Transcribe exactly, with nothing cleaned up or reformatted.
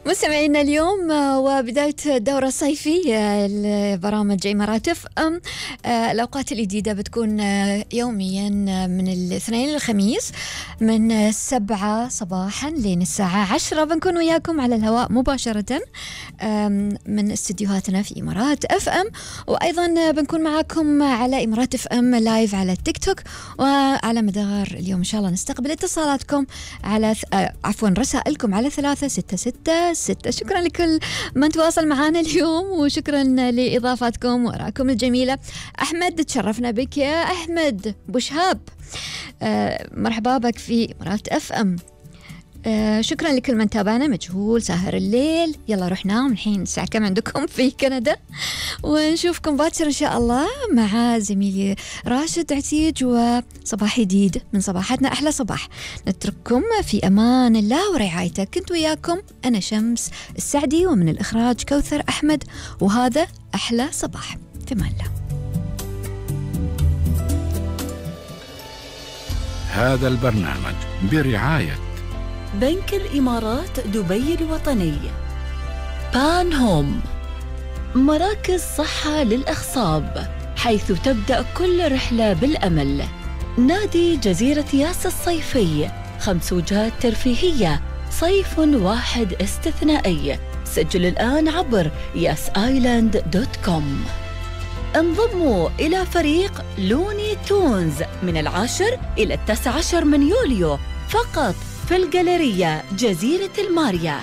مستمعينا اليوم وبداية الدورة الصيفية لبرامج إمارات اف ام. الأوقات الجديدة بتكون يوميا من الاثنين للخميس من سبعة صباحا لين الساعة عشرة. بنكون وياكم على الهواء مباشرة من استديوهاتنا في إمارات اف ام، وأيضا بنكون معاكم على إمارات اف ام لايف على التيك توك. وعلى مدار اليوم إن شاء الله نستقبل اتصالاتكم على عفوا رسائلكم على ثلاثة ستة ستة ستة. شكرا لكل من تواصل معنا اليوم، وشكرا لإضافاتكم وآرائكم الجميلة. أحمد تشرفنا بك يا أحمد بوشهاب، آه مرحبا بك في إمارات اف ام. آه شكرا لكل من تابعنا. مجهول ساهر الليل، يلا روح نام الحين. الساعة كم عندكم في كندا؟ ونشوفكم باكر إن شاء الله مع زميلي راشد عتيج وصباح جديد من صباحاتنا. أحلى صباح. نترككم في أمان الله ورعايته. كنت وياكم أنا شمس السعدي، ومن الإخراج كوثر أحمد، وهذا أحلى صباح. في أمان الله. هذا البرنامج برعاية بنك الإمارات دبي الوطني، بان هوم، مراكز صحة للأخصاب حيث تبدأ كل رحلة بالأمل، نادي جزيرة ياس الصيفي، خمس وجهات ترفيهية، صيف واحد استثنائي. سجل الآن عبر ياس آيلاند دوت كوم. انضموا إلى فريق لوني تونز من العاشر إلى التاسع عشر من يوليو فقط في الجاليرية جزيرة الماريا.